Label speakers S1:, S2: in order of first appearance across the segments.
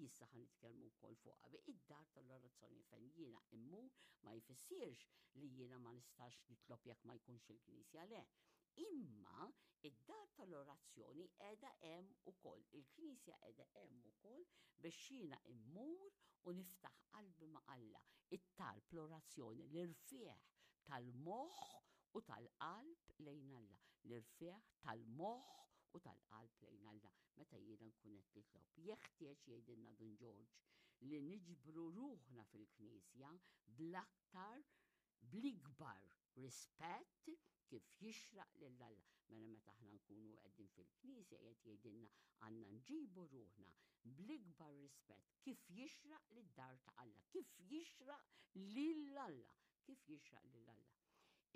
S1: issa ħa nitkellmu wkoll fuqha. Id-dar tal-orazzjoni fejn jiena immur ma jfissirx li jiena ma nistax nitlob jekk ma jkunx il-knisja le. Imma id-dar tal-orazzjoni qiegħda hemm ukoll. Il-knisja qiegħda hemm ukoll biex jiena immur u niftaħ qalbi ma' Alla. It-talb, l-orazzjoni, l-irfieħ tal-moħħ u tal-qalb lejn Alla. L-irfieħ tal-moħħ u tal-qalb lejn Alla meta jiena nkun qed nitlob. Jeħtieġ jgħidilna Dun Ġorġ li niġbru ruħna fil-knisja bl-aktar bl-ikbar rispett kif jixraq lil Alla. Mela meta aħna nkunu qegħdin fil-knisja qed jgħidilna għandna nġibu ruħna bl-ikbar rispett kif jixraq lid-dar ta' Alla, kif jixraq lil Alla, kif jixraq lil Alla.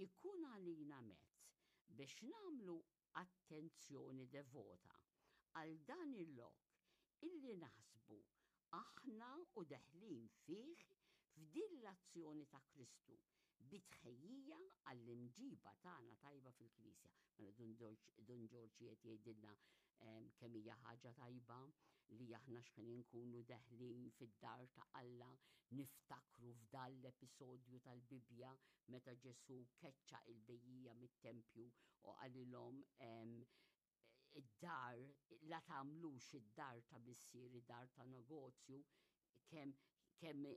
S1: Ikun għalina mezz biex nagħmlu attenzjoni devota għal dan il-lok illi naħsbu aħna u deħlin fih f'din l-azzjoni ta' Kristu bi tħejjija għall-imġiba tagħna tajba fil-Knisja. Mela Dun Ġorġ qed jgħidilna kemm hija ħaġa tajba li aħna x'ħin inkunu deħlin fid-dar ta' Alla niftakru f'dan l-episodju tal-Bibbja meta Ġesù keċċa il-bejjiegħa mit-tempju u qalilhom id-dar, la tagħmlux id-dar ta' missieri dar ta' negozju, kemm kemm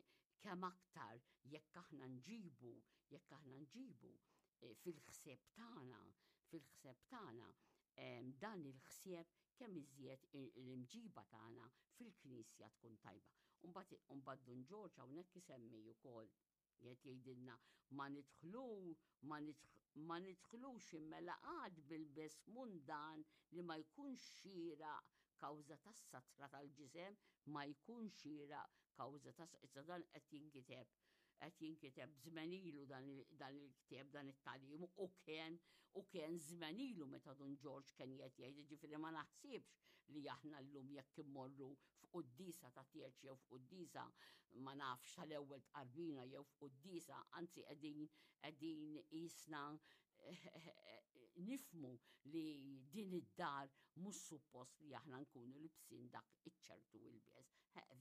S1: kemm aktar jekk aħna nġibu, jekk aħna nġibu eh, fil-ħsieb tagħna, fil-ħsieb tagħna dan il-ħsieb kemm iżjed l-imġiba tagħna fil-knisja tkun tajba. Umbagħad Dun Ġorġ hawnhekk isemmi wkoll Qed jgħidilna ma nidħlu ma ma nidħlux immela għad bil-bes mundan li ma jkunx xieraq kawża tas-satra tal-ġisem ma jkunx xieraq kawża tas issa dan qed jinkiteb qed jinkiteb żmien ilu dan il-ktieb dan it-tagħlim u kien u kien żmien ilu meta Dun Ġorġ kien qed jgħid ġifieri ma naħsibx li aħna llum jekk immorru f'quddiesa ta' tieġ jew f'quddiesa ma nafx tal-ewwel tqarbina jew f'quddiesa, anzi qegħdin qegħdin qisna nifmu li din id-dar mhux suppost li aħna nkunu libsin dak iċ-ċertu ilbies.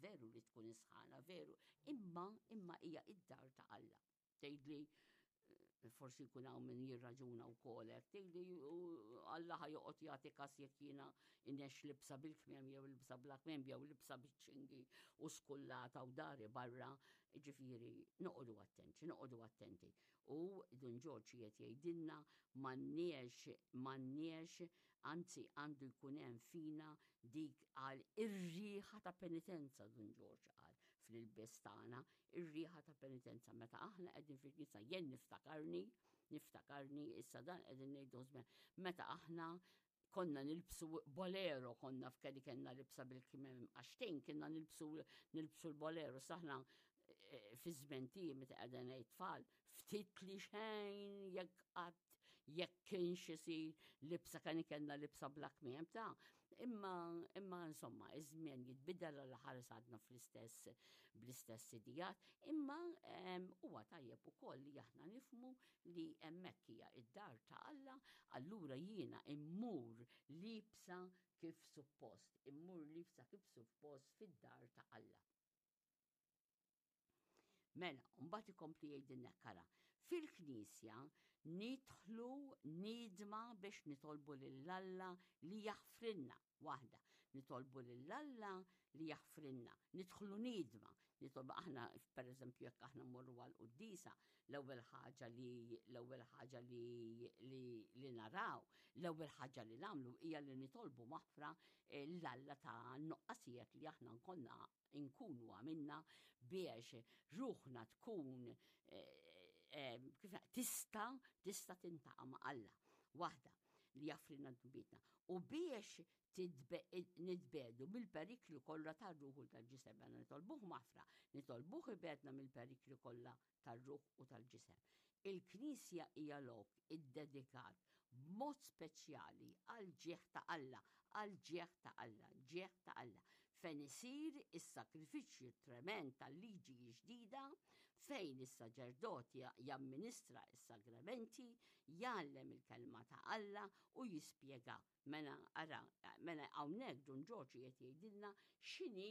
S1: Veru li tkun isħana, veru, imma imma hija id-dar ta' Alla. Tgħidli eh, forsi jkun hawn min jirraġuna wkoll hekk, tgħidli Alla ħa joqgħod jagħti kas jekk jiena inex libsa bil-kmiem jew libsa bla kmiem jew libsa biċ-ċingi u skullata u dari barra, ġifieri noqogħdu attenti, noqogħdu attenti. U Dun Ġorġ qiegħed jgħidilna m'għandniex m'għandniex anzi għandu jkun hemm fina dik għal ir-riħa ta' penitenza Dun Ġorġ qal fl-ilbies tagħna ir-riħa ta' penitenza meta aħna qegħdin fil-knisja jien niftakarni, niftakarni issa dan qegħdin ngħidu żmien meta aħna konna nilbsu bolero, konna f'kelli kellna libsa bil-kimem għaxtejn kienna nilbsu nilbsu l-bolero, saħna eh, fi żmien tiegħi meta qegħda ngħid tfal, ftit li xejn jekk qatt jekk kienx isir libsa kan kellna libsa bla kmiem ta' imma imma insomma iż-żmien jitbidel għal ħares għadna fl-istess bl-istess idijat, imma huwa tajjeb ukoll li aħna nifmu li hemmhekk hija id-dar ta' Alla, allura jiena immur libsa kif suppost, immur libsa kif suppost fid-dar ta' Alla. Mela, mbagħad ikompli jgħidilna kara, fil-knisja nidħlu nidma biex nitolbu lil Alla li jaħfrilna. Waħda, nitolbu lil Alla li jaħfrilna, nidħlu nidma, nitolbu aħna pereżempju jekk aħna mmorru għal quddisa, l-ewwel ħaġa li l-ewwel ħaġa li li, li naraw, l-ewwel ħaġa li nagħmlu hija li nitolbu maħfra eh, l-Alla ta' nuqqasijiet li aħna nkonna inkunu għamilna biex ruħna tkun eh, eh, kif tista tista tintaqa' ma' Alla. Waħda li jaffrina dnubietna. U biex nitbedu mill-periklu kollha tar-ruħ u tal-ġisem, mela nitolbuh maħfra, nitolbuh ibedna mill-periklu kollha tar-ruħ u tal-ġisem. Il-Knisja hija lok iddedikat b'mod speċjali għall-ġieħ ta' Alla, għall-ġieħ ta' Alla, ġieħ ta' Alla, fejn isir is-sagrifiċċju tremend tal-liġi ġdida, fejn is-saċerdot jamministra s-sagramenti, jgħallem il-kelma ta' Alla u jispjega. Mela ara, mela hawnhekk Dun Ġorġ qiegħed jgħidilna x'inhi.